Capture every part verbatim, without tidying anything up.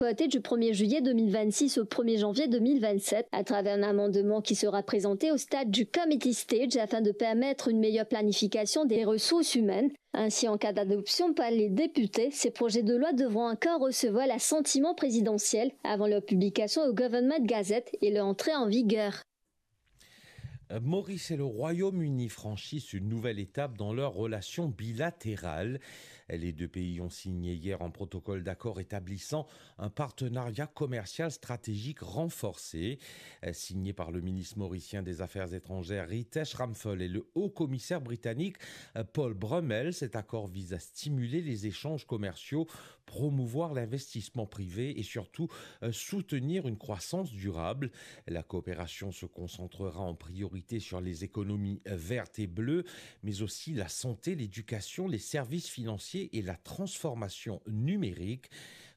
votée du premier juillet deux mille vingt-six au premier janvier deux mille vingt-sept, à travers un amendement qui sera présenté au stade du committee stage afin de permettre une meilleure planification des ressources humaines. Ainsi, en cas d'adoption par les députés, ces projets de loi devront encore recevoir l'assentiment présidentiel avant leur publication au Government Gazette et leur entrée en vigueur. Maurice et le Royaume-Uni franchissent une nouvelle étape dans leurs relations bilatérales. Les deux pays ont signé hier un protocole d'accord établissant un partenariat commercial stratégique renforcé. Signé par le ministre mauricien des Affaires étrangères Ritesh Ramphal et le haut commissaire britannique Paul Brummel, cet accord vise à stimuler les échanges commerciaux, promouvoir l'investissement privé et surtout soutenir une croissance durable. La coopération se concentrera en priorité sur les économies vertes et bleues, mais aussi la santé, l'éducation, les services financiers et la transformation numérique.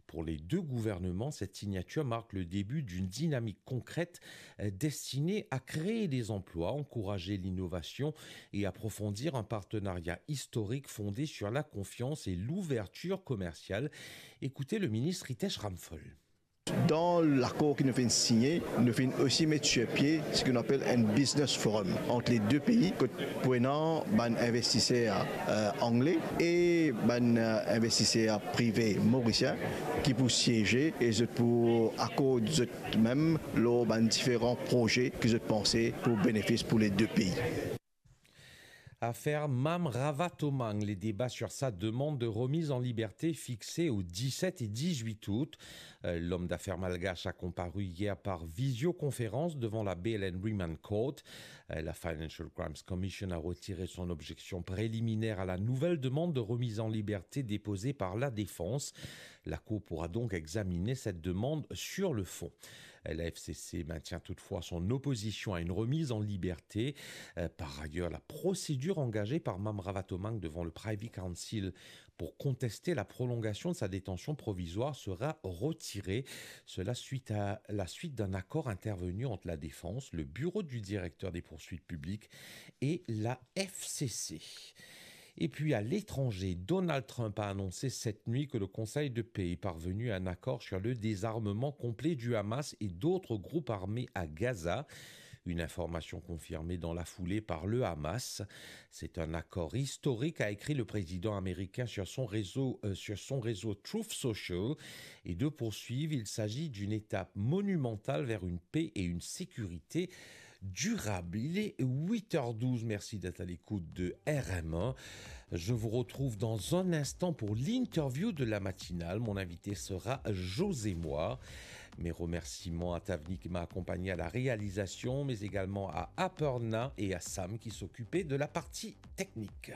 Pour les deux gouvernements, cette signature marque le début d'une dynamique concrète destinée à créer des emplois, encourager l'innovation et approfondir un partenariat historique fondé sur la confiance et l'ouverture commerciale. Écoutez le ministre Ritesh Ramphal. Dan lakor ki nou finn signe, nou finn osi met sur pie seki nou apel enn business forum ant le de pei, kot pou ena bann investiser angle e bann investiser prive morisien ki pou sieze e zot pou akord zot mem lor bann diferan proze ki zot panse pou benefis pou le de pei. Afer Mam Ravatomange, les débats sur sa demande de remise en liberté fixés aux dix-sept et dix-huit août. L'homme d'affaires malgache a comparu hier par visioconférence devant la Bail and Remand Court. La Financial Crimes Commission a retiré son objection préliminaire à la nouvelle demande de remise en liberté déposée par la défense. La Cour pourra donc examiner cette demande sur le fond. La F C C maintient toutefois son opposition à une remise en liberté. Par ailleurs, la procédure engagée par Mam Ravatomange devant le Privy Council pour contester la prolongation de sa détention provisoire sera retirée. Cela suite à la suite d'un accord intervenu entre la défense, le bureau du directeur des poursuites publiques et la F C C. Et puis à l'étranger, Donald Trump a annoncé cette nuit que le Conseil de paix est parvenu à un accord sur le désarmement complet du Hamas et d'autres groupes armés à Gaza. Une information confirmée dans la foulée par le Hamas. C'est un accord historique, a écrit le président américain sur son réseau, euh, sur son réseau Truth Social. Et de poursuivre, il s'agit d'une étape monumentale vers une paix et une sécurité durable. Il est huit heures douze. Merci d'être à l'écoute de R M un. Je vous retrouve dans un instant pour l'interview de la matinale. Mon invité sera José Moir. Mes remerciements à Tavni qui m'a accompagné à la réalisation, mais également à Aparna et à Sam qui s'occupaient de la partie technique.